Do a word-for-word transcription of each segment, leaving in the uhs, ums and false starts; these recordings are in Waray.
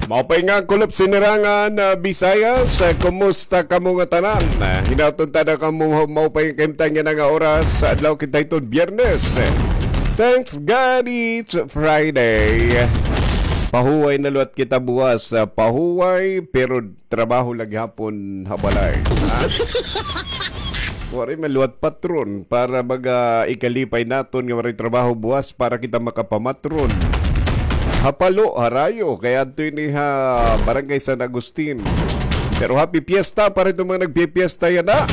Maupay nga kulop sinirangan, ah, Visayas. Ah, kumusta kamo nga tanan? Ah, hinaot unta na kamo maupay nga kahimtang yana nga oras. Adlaw kita hiton Biyernes. Thanks God it's Friday. Pahuway na liwat kita buwas. Ah, pahuway, pero trabaho la gihapon ha balay. Ha? Waray man liwat patron para baga ikalipay naton nga waray trabaho buwas para kita makapamatron. Ha Palo, harayo, kay adto ini ha Barangay San Agustin. Pero happy fiesta para iton mga nagpipiesta yana.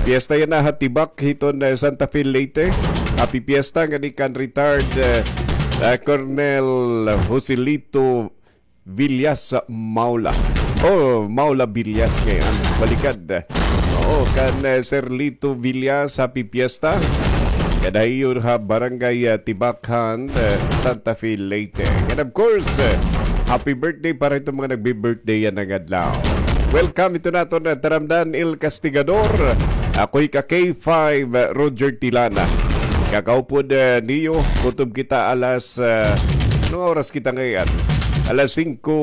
Fiesta yana ha Tibac, hiton, eh, Santa Fe, Leyte. Happy fiesta ngani kan retired, eh, eh, Colonel Joselito Villas Maula. Oh, Maula Villas ngayon. Balikad. Oo, kan, eh, Sir Lito Villas, happy fiesta. Kada iyo ha Barangay, ah, Tibacan, eh, Santa Fe, Leyte. And of course, eh, happy birthday para iton mga nagbi-birthday yana nga adlaw. Welcome ito naton, eh, Taramdan El Castigador. Ako hi ka K five, eh, Roger Tilana. Kakaupod, eh, niyo, kutob kita alas, eh, anong oras kita ngayon? Alas singko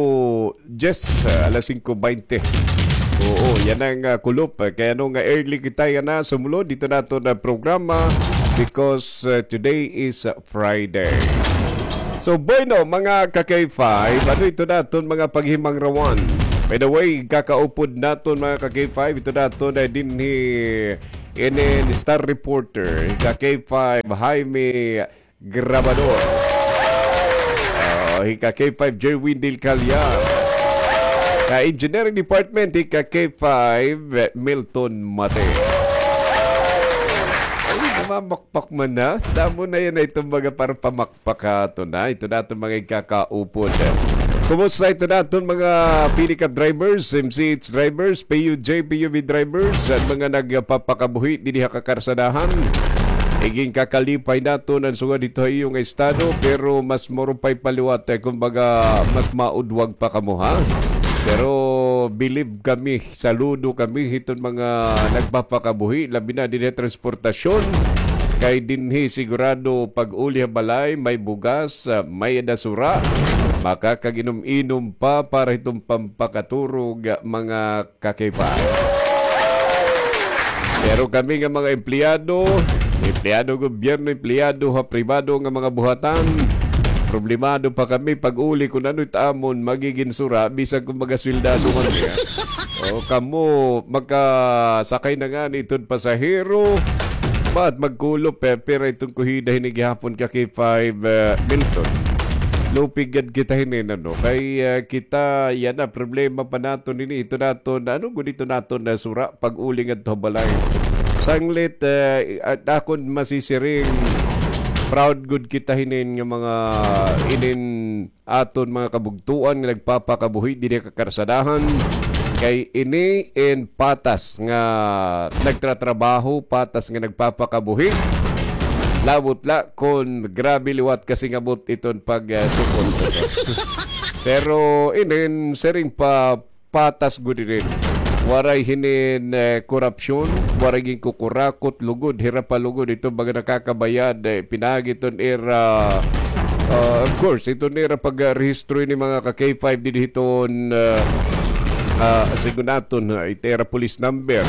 diyes, ah, alas singko baynte. Oo, yana nga, ah, kulop. Ah, kay ano nga early kita yana sumulod hito naton, ah, programa because, ah, today is, ah, Friday. So, bueno, mga ka-K five, ano ito naton mga paghimangrawan? By the way, kakaupod naton mga ka-K five, ito naton na dinhi inin star reporter, ka-K five, Jaime Grabador. Ah, hi ka-K five Jerwin Del Callar. Ka-Engineering Department, hi ka-K five Milton Mate. Ay, namamakpak man na. Damo na yana iton mga para pamakpak ha aton, ha? Ito naton mga ikakaupod. Kumusta ito naton mga pick-up drivers, M C H drivers, P U J, P U V drivers, at mga nagpapakabuhi dinhi ha kakarsadahan? Iginkakalipay naton an sugad hito ha iyo nga estado, pero mas maupay pa liwat, eh, kumbaga, mas maudwag pa kamo, ha? Pero believe kami, saludo kami hiton mga nagpapakabuhi, labi na dinhi ha transportasyon. Kay dinhi sigurado pag-uli ha balay, may bugas, ah, may-ada sura, makakag-inom-inom pa para hiton pampakaturog, ah, mga ka-K five. Pero kami nga mga empleyado, empleyado gobyerno, empleyado ha pribado nga mga buhatan, problemado pa kami pag-uli kun ano it amon magigin sura, bisan kun magasweldado man niya. O, kamo, makasakay na ngani iton pasahero, ba't magkulop, eh, pira iton kuhida hini gihapon ka-K five, eh, Milton. Lupig gad kita hinin, ano, kay, eh, kita, yana, problema pa naton ini, ito naton, ano gud ito naton na sura, pag-uli ngadto ha balay. Sanglit, eh, at akon masisiring, proud gud kita hinin nga mga, inin aton mga kabugtoan nga nagpapakabuhi dinhi ha kakarsadahan, kay ini in patas nga nagtratrabaho, patas nga nagpapakabuhi. Labot la kon grabe liwat kasingabot iton pag, ah, sukol. Pero inin siring pa patas gud inin. Waray hinin, eh, korupsyon, waray ginkukurakot, lugod, hira pa lugod iton mga nakakabayad, eh, pinaagi iton ira, ah, of course, iton ira pagrehistro ini mga ka-K five dinhi hiton, ah, ah, sigun naton, ah, it ira police number.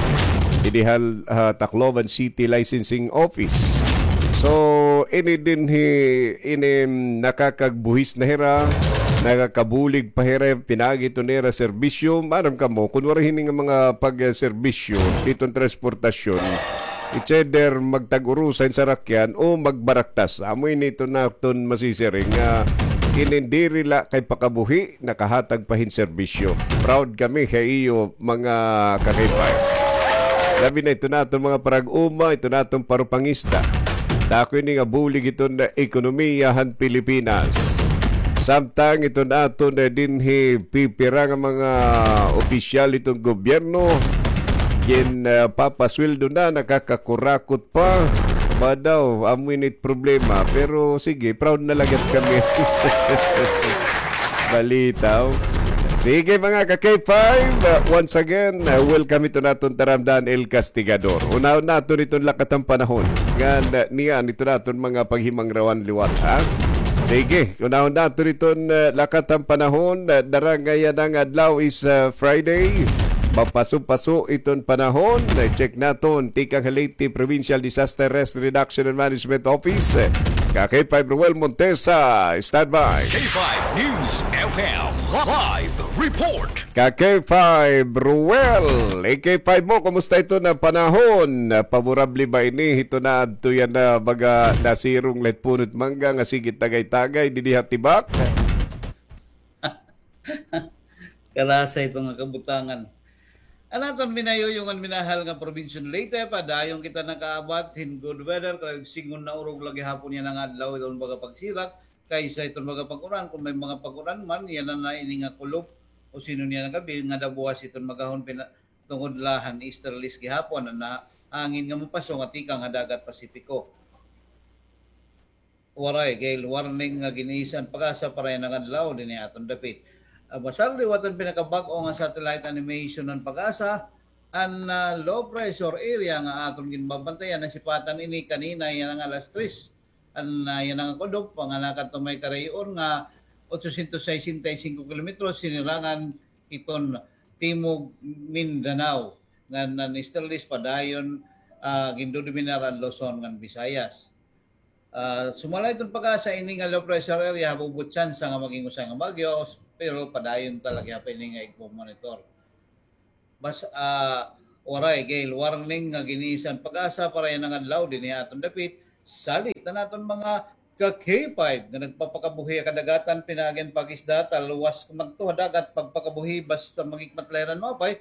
Dinhi ha, ah, Tacloban City Licensing Office. So, ini dinhi, ini nakakagbuhis na hira, nakakabulig pa hira, pinaagi iton ira serbisyo. Maaram kamo, kun waray hini nga mga pagserbisyo, iton transportasyon, it's either magtag-urusa hin sarakyan o magbaraktas. Amo ini iton naton masisiring nga inin diri la kay pakabuhi, nakahatag pa hin serbisyo. Proud kami ha iyo, mga ka-K five. Labi na ito naton mga parag-uma, ito naton parupangista. Dako ini nga bulig iton ekonomiya han Pilipinas. Samtang ito naton dinhi pipira nga mga opisyal iton gobyerno, gin, ah, papasweldo na, nakakakurakot pa. Ba daw, amo ini it problema. Pero sige, proud na la gad kami. Balitaw. Sige, mga ka-K five, uh, once again, uh, welcome ito naton Taramdan El Castigador. Unahon naton iton lakat han panahon. Ngan, uh, niyan ito naton mga paghimangrawan liwat, ha? Sige, unahon naton iton, ah, lakat han panahon. Ah, dara nga yana nga adlaw is, ah, Friday. Mapaso-paso iton panahon. Ah, check naton tikang ha Leyte Provincial Disaster Risk Reduction and Management Office. Ka K five Ruel Montesa, standby. K five News F M live report. Ka K five, Ruel. K five mo, kumusta iton panahon? Favorable ba ini? Hito na adto yana baga nasirong la it puno it mangga nga sige tagay-tagay dinhi ha tibak. Karasa ito nga kabutangan. An aton minayuyong ngan minahal nga probinsya han Leyte, padayon kita nakaabat hin good weather, kay singon na urog la gihapon yana nga adlaw iton baga pagsirak, kaysa iton baga pag-uran, kon may mga pag-uran man, yana na ini nga kulop, o singon yana nga gabi, nga dabuwas iton magahon pina-, tungod la han easterlies gihapon, an hangin nga mapaso nga tikang ha dagat Pasipiko. Waray gale warning nga gin-isa an PAGASA para yana nga adlaw dinhi ha aton dapit. Ah, basta liwat an pinakabag-o nga satellite animation han PAGASA, an, ah, low pressure area nga aton ginbabantayan, nasipatan ini kanina yana nga alas tres. An, ah, yana nga kulop, nga nakadto may karayo-on nga otsosientos sesenta y singko kilometros, sinirangan hiton Timog Mindanao, ngan an easterlies padayon, ah, gindodominar an Luzon ngan Visayas. Ah, sumala hiton PAGASA, ini nga low pressure area, habubo tsansa nga maging usa nga bagyo, pero padayon ta la gihap ini nga igmo-monitor. Bas-, ah, waray gale warning nga gin-isa an PAGASA para yana nga adlaw dinhi ha aton dapit, salit an aton mga ka K five nga nagpapakabuhi ha kadagatan, pinaagi han pag-isda, talwas madto ha dagat, pagpakabuhi basta magikmat la hira hin maupay,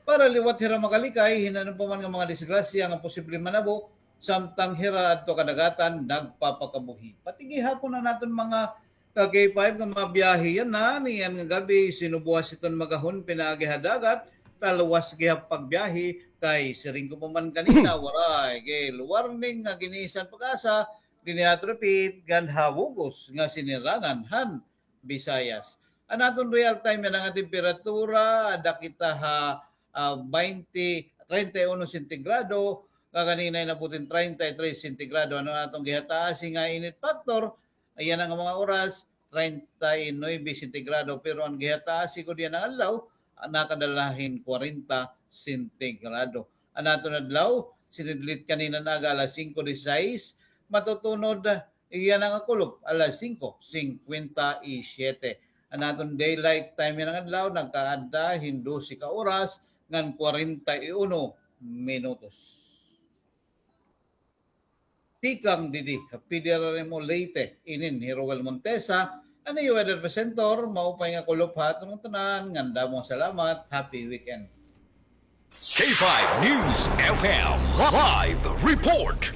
para liwat hira makalikay hin ano pa man nga mga disgrasya nga posible manabo, samtang hira adto ha kadagatan nagpapakabuhi. Pati gihapon an aton mga ka K five nga mabiyahe yana, niyan nga gabi, sinubuas iton magahon pinaagi ha dagat, talwas gihap pagbiyahe, kay siring ko pa man kanina, waray gale warning nga gin-isa an PAGASA dinhi ha aton dapit ngan ha bug-os nga sinirangan han Visayas. An aton real time yana nga temperatura, ada kita ha, ah, baynte, treinta y uno sentigrado, nga kanina inabot hin treinta y tres sentigrado. An aton gihataas nga init factor, yana nga mga oras, treinta y nuebe sentigrado, pero an gihataas gud yana nga adlaw, ah, nakadala hin kwarenta sentigrado. An aton adlaw, sinidlit kanina nga aga alas singko disisais, matutunod yana nga kulop alas singko singkwenta y siyete. An aton daylight time yana nga adlaw, nagkaada hin dose ka oras ngan kwarenta y uno minutos. Tikang didi ha P D R R M O Leyte, inin hi Roel Montesa, an iyo weather presenter, maupay nga kulop ha aton tanan, ngan damo nga salamat, happy weekend. K five News F M live report.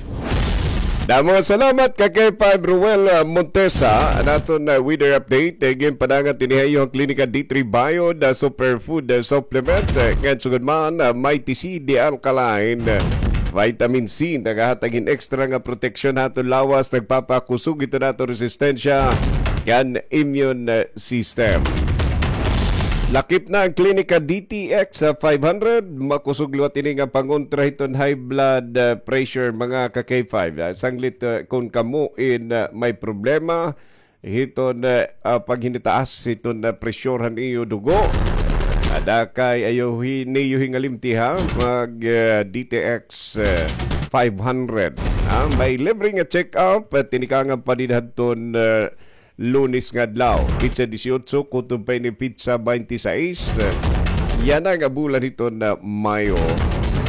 Damo nga salamat ka K five Ruel, ah, Montesa, an aton, ah, weather update, eh, ginpadangat dinhi ha iyo han Klinika D three Bio, the superfood, ah, supplement, eh, ngan sugad man, ah, Mighty C, the alkaline, ah, vitamin C, nagahatag hin extra nga proteksyon ha aton lawas, nagpapakusog hiton aton resistensya ngan immune, eh, system. Lakip na an Klinika D T X, ah, five hundred, makusog liwat ini nga pangontra hiton high blood, ah, pressure, mga ka K five. Ah, sanglit, ah, kon kamo in, ah, may problema hiton, ah, ah, paghinitaas hiton, ah, pressure han iyo dugo. Ada kay ayaw hi-, niyo hingalimti ha, mag, ah, D T X, ah, five hundred. Ah, may libre nga check-up, ah, tinikangan pa dida hadton, ah, Lunes nga adlaw, petsa disiotso, kutob pa ini petsa baynte sais. Yana nga bulan hiton Mayo.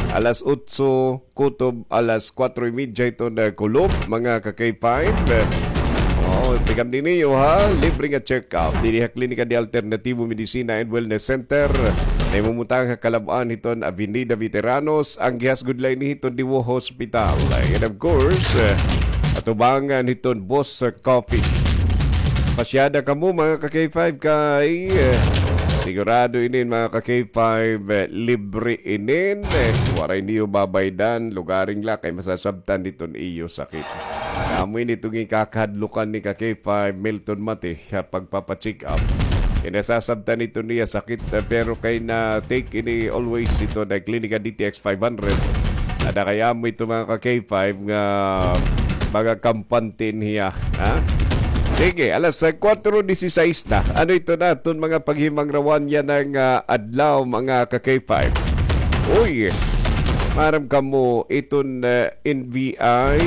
Alas otso kutob alas kuwatro y medya hiton kulop, mga ka K five. Oh, tikang dinhi iyo ha, libre nga check-up diri ha Klinika de Alternativo Medicina and Wellness Center. Nahimumutang ha kalab-an hiton Avenida Veteranos, an gihasgod la ini hiton Diwo Hospital. And of course, eh, atubangan hiton Boss Coffee. Pasyada kamo, mga ka K five, kay, eh, sigurado inin, mga ka K five, eh, libre inin, eh, waray niyo babaydan, lugaring la kay masasabtan hiton iyo sakit. Amo ini iton ikakahadlukan ni ka K five, Milton Mate, ha pagpapa-check up. Kay nasasabtan hiton iya sakit, eh, pero kay na-take ini always hiton Klinika D T X five hundred. Ada kay amo ito, mga ka K five, nga mga kampante niya, ha? Sige, alas, ah, kuwatro disisais na. Ano ito na? Iton mga paghimangrawan yana nga, ah, adlaw, mga ka-K five. Uy, maaram kamo, iton, ah, N B I, ah,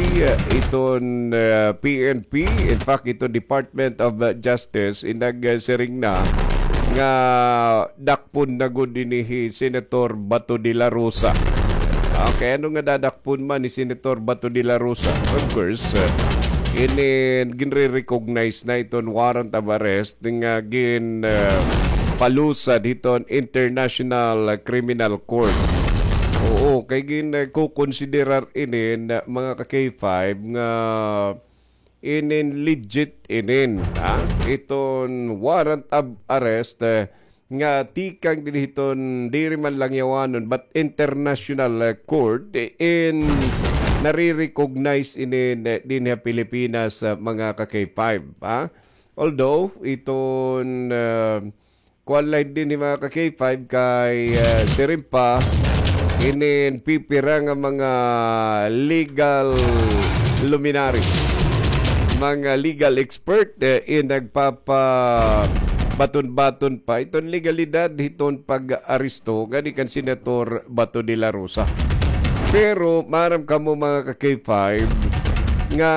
iton, ah, P N P, in fact, iton Department of, ah, Justice, inag, ah, siring na nga dakpon na gud ini hi Senator Bato de la Rosa. Okay, ano nga dadakpon man ni Senator Bato de la Rosa? Of course, uh, inin ginre-recognize na iton warrant of arrest nga gin, uh, palusad hiton International Criminal Court. Oo, kay gin, uh, kukonsiderar inin, uh, mga ka-K five nga inin legit inin, ha? Iton warrant of arrest, eh, nga tikang dinhi hiton diri man lang yawanon but international, eh, court, eh, in nare-recognize inin, eh, dinhi ha Pilipinas, ah, mga ka-K five, ha? Although iton, ah, kuan la dinhi mga ka-K five kay, ah, siring pa inin pipira nga mga legal luminaries, mga legal expert, eh, in nagpapabaton-baton pa iton legalidad hiton pag-aresto ngani kan Senator Bato de la Rosa. Pero maaram kamo mga ka-K five nga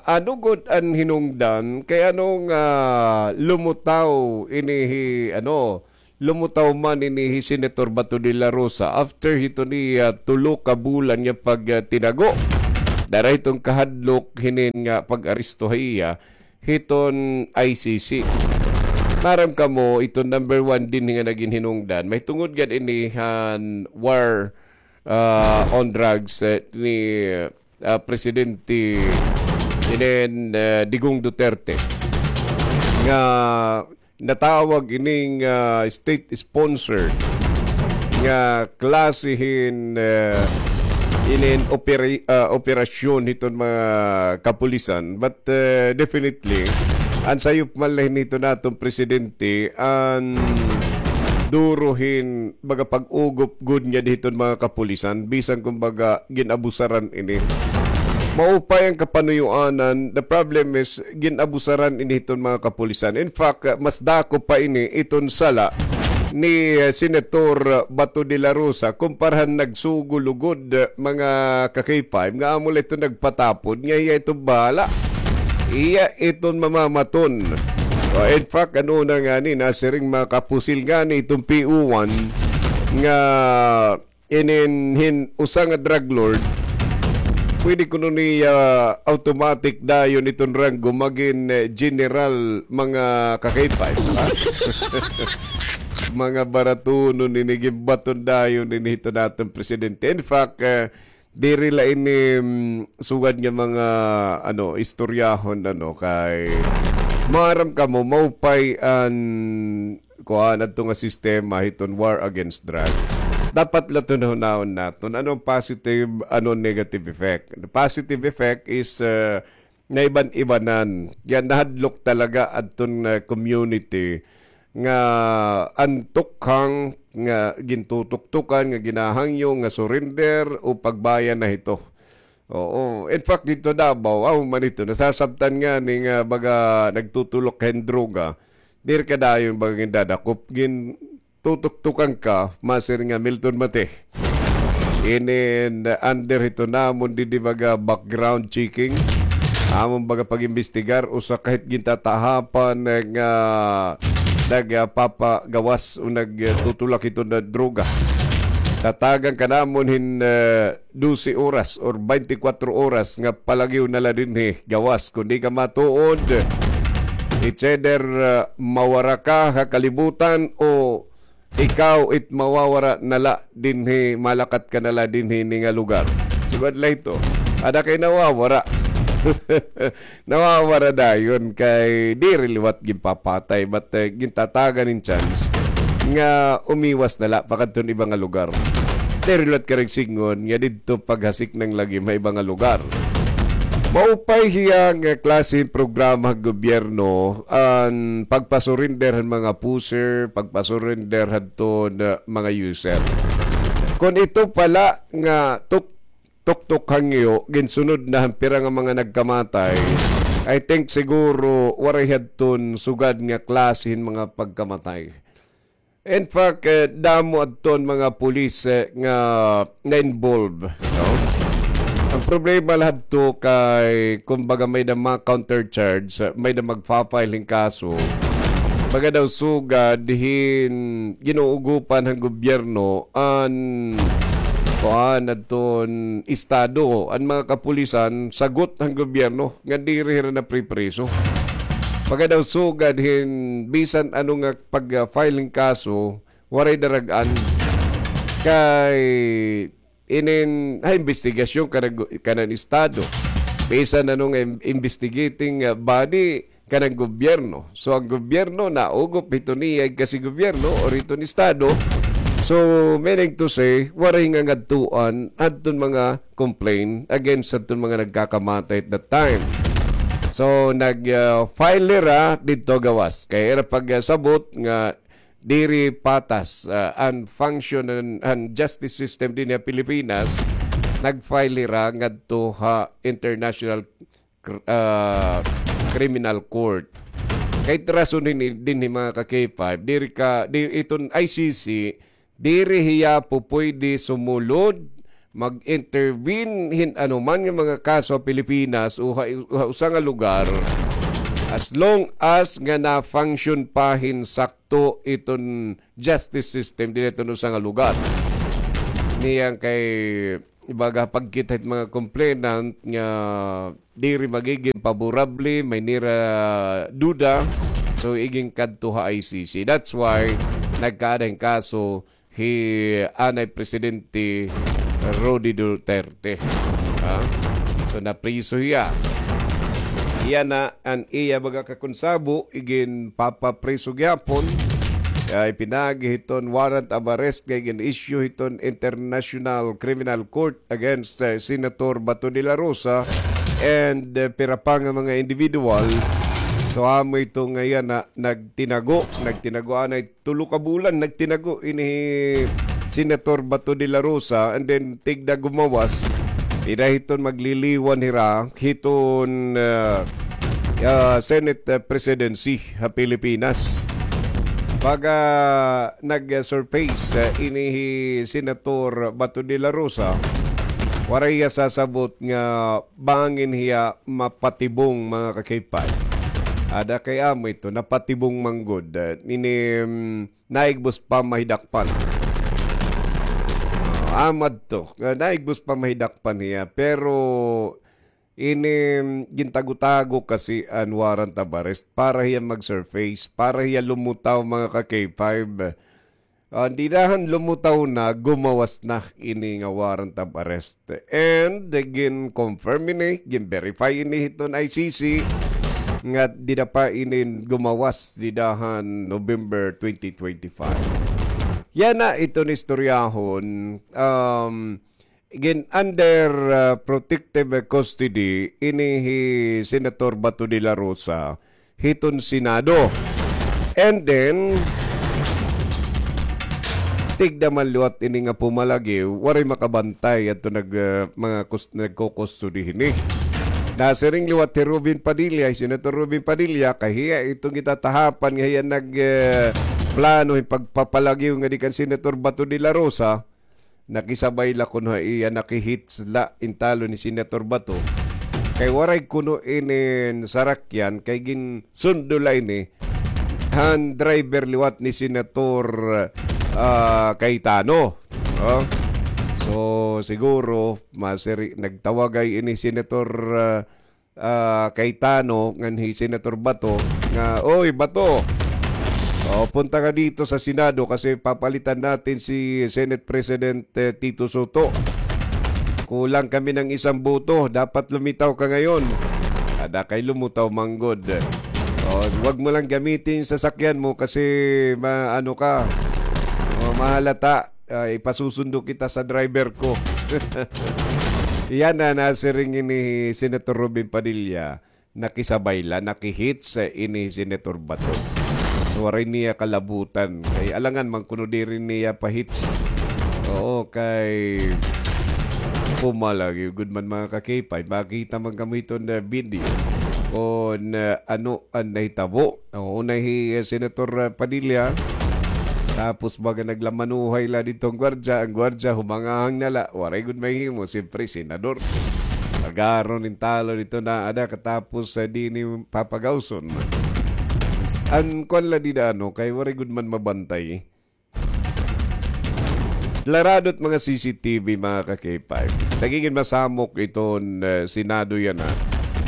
ano gud an hinungdan kay ano nga lumutaw ini hi, ano, lumutaw man ini hi Senator Bato de la Rosa after hito ni, ah, tulo ka bulan nga pag, ah, tinago. Dara hiton kahadlok hinin nga pag-aresto ha iya hiton I C C. Maaram kamo, iton number one dinhi nga nagin hinungdan. Mahitungod gad ini han war, ah, on drugs, eh, ni, ah, Presidente inin, ah, Digong Duterte nga natawag ining, ah, state-sponsored nga klase hin, ah, inin opera-, ah, operasyon hiton mga kapulisan. But, ah, definitely, an sayop man la hin hiton aton presidente, an duro hin baga pag-ugop gud nga dinhi hiton mga kapulisan, bisan kumbaga gin-abusaran ini. Maupay an kapanuyoanan, the problem is gin-abusaran ini hiton mga kapulisan. In fact, mas dako pa ini iton sala ni, eh, Senator Bato de la Rosa kumpara han nagsugo lugod, eh, mga ka-K five nga amo la iton nagpatapod nga iya iton bahala. Iya iton mamamaton. O, in fact, an una ngani, nasiring mga kapusil ngani iton P O one nga inin hin usa nga drug lord, pwede kuno niya automatic dayon iton ranggo magin, eh, general mga ka-K five, ha? Mga baratunon ini, ginbaton dayon ini hiton aton presidente. In fact, eh, diri la ini, mm, sugad nga mga, ano, istoryahon, ano, kay maaram kamo, maupay an, kuan, adto nga sistema hiton war against drug. Dapat la iton hunahon naton, ano an positive, ano an negative effect. The positive effect is, uh, naiban-ibanan. Kay nahadlok talaga adton, uh, community nga an tukhang nga gintutuktukan, nga ginahangyo, nga surrender o pagbayan na hito. Oo. In fact, didto Davao, amo man ito, nasasabtan ngani nga baga nagtutulok hin droga. Diri ka dayon baga gindadakop, gintutuktukan ka, masiring nga Milton Mate. Inin under hito namon didi baga background checking. Amon baga pag-imbestigar, usa ka hit gintatahapan nga nagpapagawas o nagtutulak hito nga droga. Tatagan ka namon hin, eh, dose oras or baynte kwatro oras nga palagiw na la dinhi gawas. Kon di ka matuod, it's either, uh, mawara ka ha kalibutan o ikaw it mawawara na la dinhi, malakat ka na la dinhi ini nga lugar. Sugad la ito. Ada kay nawawara. Nawawara dayon kay diri liwat ginpapatay, but, eh, gintatagan hin chance nga umiwas na la pakadton iba nga lugar. Diri liwat karuyag sidngon nga didto paghasik na an lagim ha iba nga lugar. Maupay hiya nga klase hin programa han gobyerno, an pagpasurrender han mga pusher, pagpasurrender hadton mga user. Kon ito pa la nga tuk-, tuktok hangyo, ginsunod na han pira nga mga nagkamatay, I think siguro waray hadton sugad nga klase hin mga pagkamatay. In fact, eh, damo adton mga pulis, eh, nga na-involve, no? Ang problema la hadto kay, kumbaga, may da mga countercharge, eh, may da magfa-file hin kaso. Baga daw sugad hin ginuugopan han gobyerno an, kuan, adton estado, an mga kapulisan, sagot han gobyerno nga diri hira napripriso. Baga daw sugad hin bisan ano nga pag-file hin kaso, waray darag-an. Kay inin, ha, investigasyon kanan, kanan estado. Bisan ano nga im-, investigating, ah, body kanan gobyerno. So, ang gobyerno naugop hito niya kasi gobyerno or hiton estado. So, meaning to say, waray nga ngadtuan hadton mga complaint against hadton mga nagkakamatay at that time. So, nag, ah, file hira didto gawas. Kay ira pag, ah, sabot nga diri patas, ah, an function han, han justice system dinhi ha Pilipinas, nag-file hira ngadto ha International Cr-, ah, Criminal Court. Kay rason hini dinhi, mga ka-K five, diri ka, di, iton I C C, diri hiya pupuyde sumulod, mag-intervene hin anuman nga mga kaso ha Pilipinas o ha, ha usa nga lugar, as long as nga na-function pa hin sakto iton justice system dinhi hiton usa nga lugar. Niyan kay, ibaga, pagkita hit mga complainant nga diri magigin paborable, may nira duda, so igin kadto ha I C C. That's why nagkaada hin kaso hi anay Presidente Rody Duterte. Ha? So, napriso hiya. Iya na an iya mga kakonsabo, igin papapriso gihapon. Kay pinaagi hiton warrant of arrest nga igin-issue hiton International Criminal Court against, eh, Senator Bato de la Rosa and, eh, pira pa nga mga individual. So, amo ito nga iya na nagtinago, nagtinago anay tulo ka bulan nagtinago ini hi Senator Bato de la Rosa, and then tigda gumawas, ira hiton magliliwan hira hiton, ah, ah, Senate, ah, presidency ha Pilipinas. Pag, ah, nag-surface, ah, ini hi Senator Bato de la Rosa, waray hiya sasabot nga bangin hiya mapatibong, mga ka-K five. Ada kay amo ito, napatibong man gud, ah, ini, mm, naigbos pa mahidakpan. Ah, amo adto, ah, naigbos pa mahidakpan hiya, pero ini, mm, gintagutago kasi an warrant of arrest para hiya mag-surface, para hiya lumutaw, mga ka-K five. Ah, dida han lumutaw na, gumawas na ini nga warrant of arrest. And, eh, gin-confirm ini, gin-verify ini hiton I C C, nga dida pa ini gumawas, dida han November twenty twenty-five. Yana iton istoryahon, um, gin under, ah, protective custody ini hi Senator Bato de la Rosa hiton Senado. And then, tigda man liwat ini nga pumalagiw, waray makabantay adto nag, ah, mga kus-, nagko-custody hini. Nasiring liwat hi Robin Padilla, hi Senator Robin Padilla, kay hiya iton gitatahapan nga hiya nag, ah, plano hin pagpapalagiw ngadi kan Senator Bato de la Rosa. Nakisabay la kuno ha iya, nakihits la in talon ni Senator Bato. Kay waray kuno inin sarakyan, kay ginsundo la ini han driver liwat ni Senator, ah, Cayetano. Oh. So, siguro, masiri-, nagtawagay ini Senator, ah, ah, Cayetano ngan hi Senator Bato nga, "Oy, Bato, oh, punta ka dito sa Senado kasi papalitan natin si Senate President, eh, Tito Sotto. Kulang kami ng isang boto. Dapat lumitaw ka ngayon." Ada kay lumutaw man gud. Oh, wag mo lang gamitin yung sasakyan mo kasi ma-, ano ka, oh, mahalata. Ah, ipasusundo kita sa driver ko. Yana nasiring ini Senator Robin Padilla, nakisabay la, nakihits ini Senator Bato. So, waray niya kalabutan. Kay alangan man kuno diri niya pahits. Oo, kay pumalagiw gud man, mga ka-K five. Makita man kamo hiton video. kon, ah, ano an nahitabo. O, una hi, ah, Senator, ah, Padilla. Tapos baga naglamanuhay la didto an gwardiya, an gwardiya humangahang na la. Waray gud mahimo, siyempre, senador. Pagaron in talo didto na ada, katapos, ah, di ni papagawson. An kuan la dida, ano, kay waray gud man mabantay. Klarado it mga C C T V, mga ka-K five. Nagigin masamok iton, eh, Senado yana.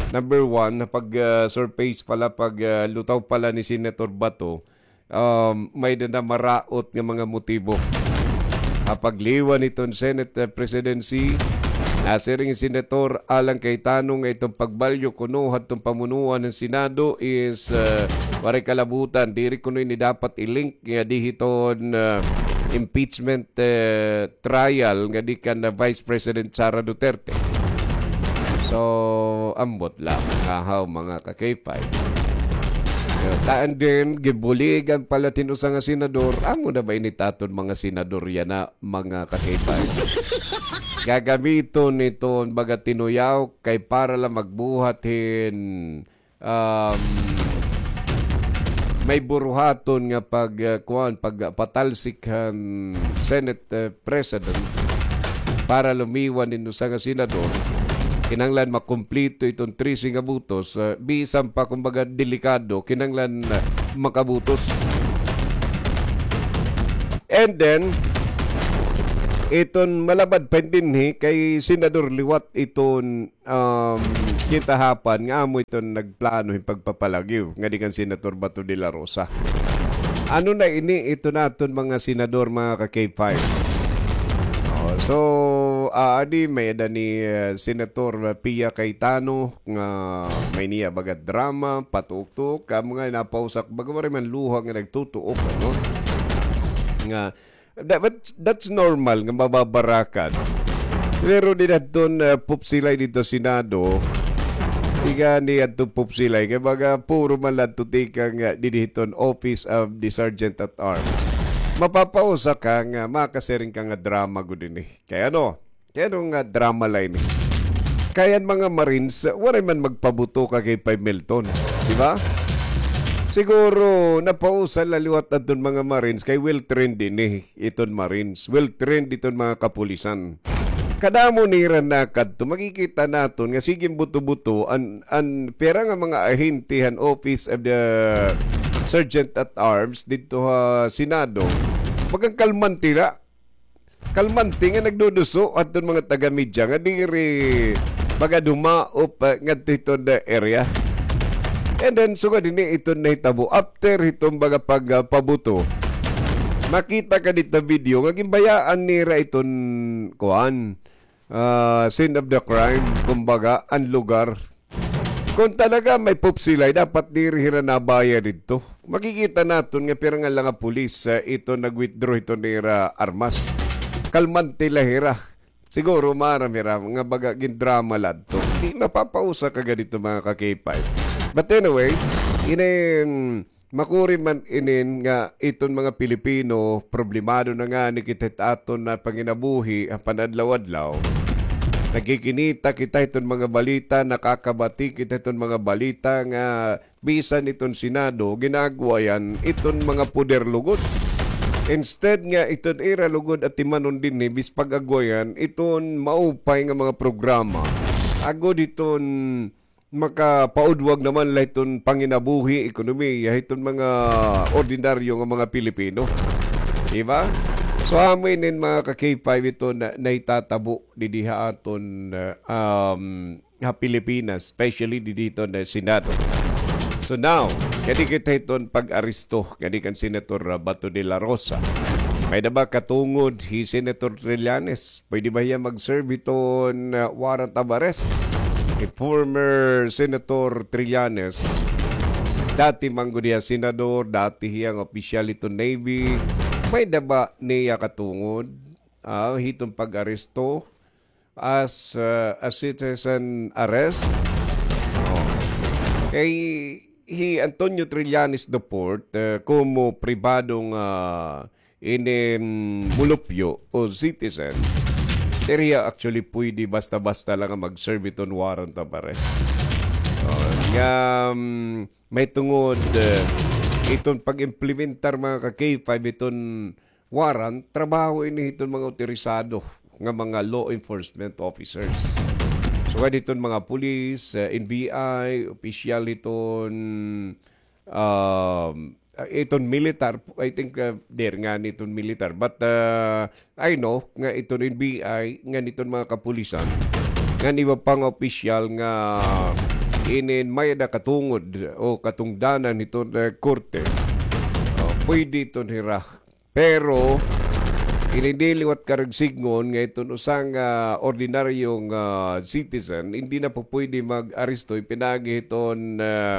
Number one, pag, ah, surface pala, pag, ah, lutaw pala ni Senator Bato, um, may-ada na maraot nga mga motibo. Ha pagliwan hiton Senate, eh, presidency, nasiring Senator Alan Cayetano nga iton pagbalyo kuno hadton pamunuan han Senado is, eh, waray kalabutan. Diri kuno ini dapat i-link nga di hiton, ah, impeachment, eh, trial nga di kan, ah, Vice President Sara Duterte. So, ambot la, hahaw, mga ka-K five. Taan din, gibuligan pala tin usa nga senador. Amo na ba ini it aton mga senador yana, mga ka-K five? Gagamiton iton baga tinuyaw kay para la magbuhat hin um, may buruhaton nga pag, uh, kuan, pagpatalsik han Senate, uh, President para lumiwan hin usa nga senador. Kinahanglan makumplito iton trese nga butos, uh, bisan pa, kumbaga, delikado, kinahanglan, uh, makabutos. And then, iton malabad pa dinhi kay Senador liwat iton um, kita hapan nga amo iton nagplano hin pagpapalagyo ngadi kan Senator Bato de la Rosa. Ano na ini iton aton mga senador, mga ka-K five? Oh, so, ah, adi may-ada ni, eh, Senator Pia Cayetano nga may-ada niya baga drama, patuok-tuok, kamo nga napausak, baga waray man luha nga nagtutuok, ano? Nga That, but that's normal nga mababarakan. Pero didto, uh, pupsilay didto Senado, ika ni adto pupsilay, kay baga puro man la adto tikang, uh, didto Office of the Sergeant at Arms. Mapapausa ka nga makasiring ka nga drama gud ini. Kay ano? Kay ano nga drama la ini? Kay an mga Marines, waray man magpabuto ka kay Pay Milton, di ba? Siguro napausa la liwat adton mga Marines kay well trained ini, iton Marines. Well trained iton mga kapulisan. Kadamo nira nakadto, makikita naton nga sige buto-buto an, an pira nga mga ahente han Office of the Sergeant at Arms didto ha Senado. Baga kalmante la. Kalmante nga nagduduso adton mga taga-media nga diri magad humaop, ah, ngadto hiton, ah, area. And then, sugad hini iton nahitabo after hiton baga pag, ah, pabuto. Makita ka didto video nga ginbayaan nira iton, kuan, ah, scene of the crime, kumbaga, an lugar. Kon talaga may pupsilay, dapat diri hira nabaya didto. Makikita naton nga pira nga la nga pulis, ah, iton nag-withdraw hiton ira armas. Kalmante la hira. Siguro maaram hira nga baga gindrama la adto. Di mapapausa ka gad hito, mga ka-K five. But anyway, inin Makuri man inin nga iton mga Pilipino, problemado na ngani kita hit aton nga panginabuhi ha pan-adlaw-adlaw. Nagkikinita kita hiton mga balita, nakakabati kita hiton mga balita nga bisan iton Senado, gin-aagwayan iton mga poder lugod. Instead nga iton ira lugod atimanon dinhi, bis pag-agwayan iton maupay nga mga programa. Agod hiton makapaudwag naman la hiton panginabuhi, ekonomiya hiton mga ordinaryo nga mga Pilipino. Di ba? So, amo inin mga ka-K five iton na, nahitatabo didi ha aton, uh, um, ha Pilipinas, especially didi hiton, uh, Senado. So now, kadi kita hiton pag-aresto kadi kan Senator, uh, Bato de la Rosa. May-ada ba katungod hi Senator Trillanes? Pwede ba hiya mag-serve hiton, uh, warrant of arrest? Hi former Senator Trillanes, dati man gud hiya senador, dati hiya nga opisyal hiton Navy. May-ada ba niya katungod, ah, hiton pag-aresto as, uh, a citizen arrest? Oh. Kay hi Antonio Trillanes the fourth, uh, komo pribadong, uh, ini, mm, mulupyo o citizen, diri hiya actually pwede basta-basta lang nga mag-serve iton warrant of arrest. Oh, nga, mm, mahitungod, eh, iton pag-implementar, mga ka-K five, iton warrant, trabaho ini hiton mga otorisado nga mga law enforcement officers. So, kay hiton mga pulis, eh, N B I, opisyal hiton, um, iton militar, I think, uh, there nga niton militar. But, uh, I know nga iton N B I, nga niton mga kapulisan, nga iba pa nga opisyal nga inin may-ada katungod o katungdanan hiton, uh, korte. Uh, pwede iton hira. Pero, ini di liwat karagsigngon nga iton usa nga ordinaryong, ah, citizen, hindi na po pwede mag-aresto, ipinagi hiton, ah,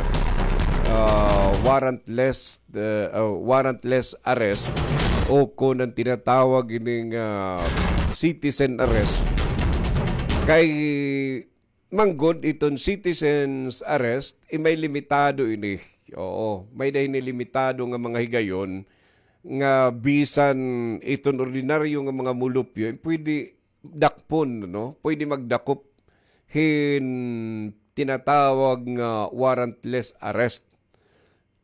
ah, warrantless, ah, ah, warrantless arrest o kon an tinatawag ining, ah, citizen arrest. Kay manggod iton citizens arrest, eh, may limitado ini. Oo, may-ada ini limitado nga mga higayon nga bisan iton ordinaryo nga mga mulupyo, eh, pwede dakpon, no? Pwede magdakop hin tinatawag nga warrantless arrest.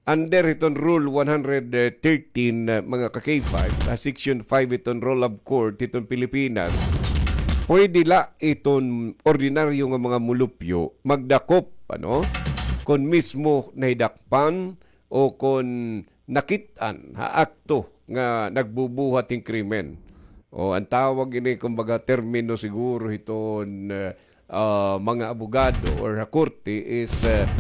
Under hiton Rule one hundred thirteen, uh, mga ka-K five, uh, Section five hiton Rule of Court hiton Pilipinas, pwede la iton ordinaryo nga mga mulupyo magdakop, ano? Kon mismo nahidakpan o kon nakit-an ha akto nga nagbubuhat hin krimen. O, an tawag ini, kumbaga, termino siguro hiton, uh, ah, mga abogado or ha korte is, ah,